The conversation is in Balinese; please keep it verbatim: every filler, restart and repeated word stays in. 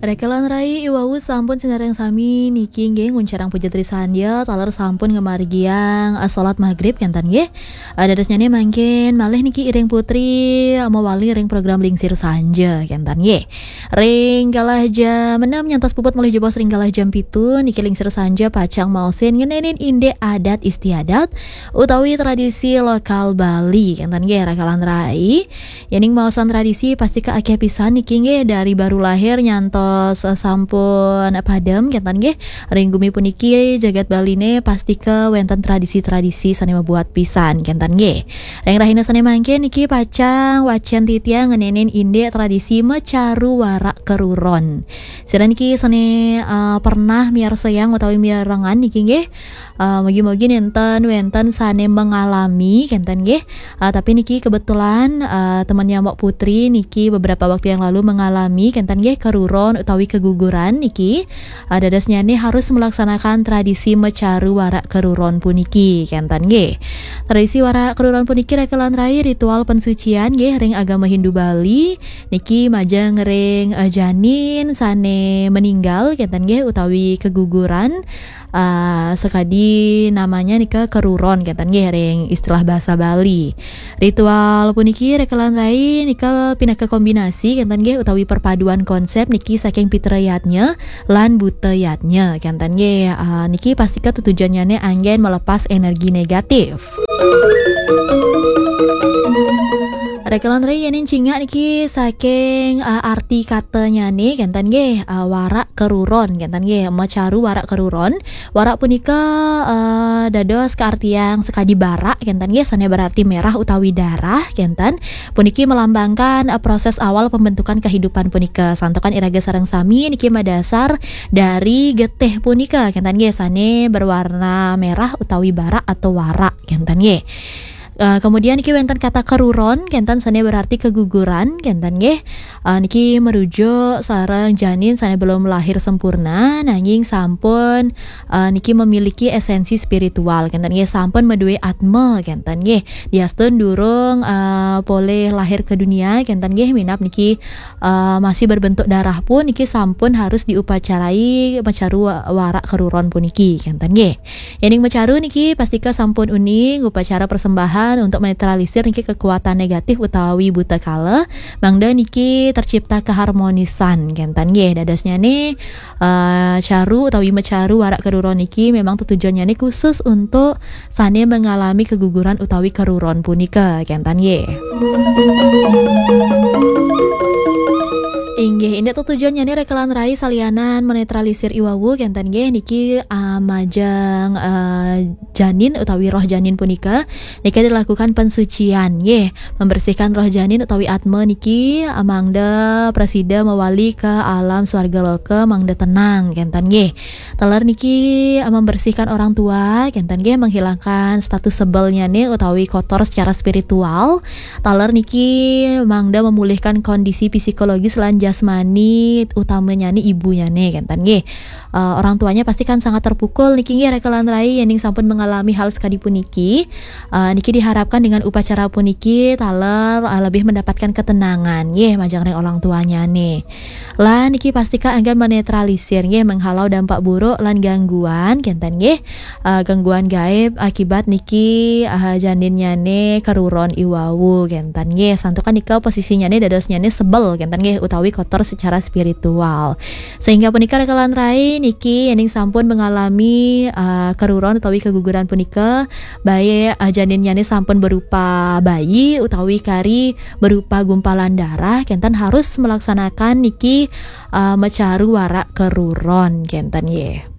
Rekelan rai iwau sampun sinareng sami niki nggih nguncarang puja trisandya taler sampun ngamargiang eh, salat maghrib kenten nggih. Eh, dadosnyane mangkin malih niki iring putri eh, mawali ring program Lingsir Sanja kenten nggih. Ring galah jam enam nyantos puput malih jebos ring galah jam pitu niki Lingsir Sanja pacang maosin ngenenin indik adat istiadat utawi tradisi lokal Bali kenten nggih rekelan rai. Yening maosan tradisi pastika akeh pisan niki nggih dari baru lahir nyantos eh, sampun padem kenten nggih. Ring gumi puniki jagat Baline pastika wenten tradisi-tradisi sane mabuat pisan kenten nggih. Ring rahina sane mangkin niki pacang wacen titiang ngenenin indik tradisi mecaru warak keruron. Sira niki sane eh, pernah miarsayang utawi miarengan niki nggih. Uh, mugi-mugi nenten wenten sane mengalami kenten nggih. Uh, tapi niki kebetulan uh, temannya Mbok Putri niki beberapa waktu yang lalu mengalami kenten nggih keruron utawi keguguran niki. Uh, dadosnyane harus melaksanakan tradisi mecaru warak keruron puniki kenten nggih. Tradisi warak keruron puniki rekelan rai ritual pensucian nggih ring agama Hindu Bali niki majeng ring uh, janin sane meninggal kenten nggih utawi keguguran uh, sekadi namanya nika keruron kenten nggih ring istilah bahasa Bali. Ritual puniki rekelan rai nika pinaka kombinasi kenten nggih utawi perpaduan konsep niki saking pitra yatnya lan buta yatnya kenten nggih. Uh, niki pastika tutujannyane anggen melepas energi negatif. Rekelan rai yening cingak niki saking uh, arti katanyane kenten nggih uh, warak keruron kenten nggih macaru warak keruron. Warak punika uh, dados kaartiang sekadi barak kenten nggih sane berarti merah utawi darah kenten. Puniki melambangkan uh, proses awal pembentukan kehidupan punika. Santukan iraga sareng sami niki madasar dari getih punika kenten nggih sane berwarna merah utawi barak atau warak kenten nggih. Uh, kemudian niki wenten kata keruron kenten sane berarti keguguran kenten nggih. Uh, niki merujuk sareng janin sane belum lahir sempurna nanging sampun uh, niki memiliki esensi spiritual kenten nggih sampun madue atma kenten nggih. Diastun durung uh, polih lahir ke dunia kenten nggih minap niki uh, masih berbentuk darah pun niki sampun harus diupacarai mecaru warak keruron puniki kenten nggih. Yening mecaru niki pastika sampun uning upacara persembahan untuk menetralisir niki kekuatan negatif utawi buta kala mangda niki tercipta keharmonisan kenten nggih. Dadosnyane uh, caru utawi mecaru warak keruron niki memang tetujonnyane khusus untuk sane mengalami keguguran utawi keruron punika kenten nggih. Inggih, indik tetujonnyane rekelan rai salianan menetralisir iwawu kenten nggih niki uh, majeng uh, janin utawi roh janin punika nika dilakukan pensucian nggih membersihkan roh janin utawi atma niki uh, mangda prasida mawali ke alam swarga loka mangda tenang kenten nggih. Taler niki eh, membersihkan orang tua kenten nggih menghilangkan status sebelnyane utawi kotor secara spiritual. Taler niki mangda memulihkan kondisi psikologis lan jasmani utamanyane ibunyane kenten nggih. Uh, orang tuanya pasti kan sangat terpukul niki nggih rekelan rai yening sampun mengalami hal sekadi puniki. Uh, niki diharapkan dengan upacara puniki taler uh, lebih mendapatkan ketenangan nggih majeng ring orang tuanyane. Lan niki pastika anggen menetralisir nggih menghalau dampak buruk lan gangguan kenten nggih. Uh, gangguan gaib akibat niki uh, janinnyane keruron iwawu kenten nggih. Santukan nika posisinyane dadosnyane sebel kenten nggih utawi kotor secara spiritual. Sehingga punika rekelan rai niki yening sampun mengalami uh, keruron utawi keguguran punika baik uh, janinnyane sampun berupa bayi utawi kari berupa gumpalan darah kenten harus melaksanakan niki uh, mecaru warak keruron kenten nggih.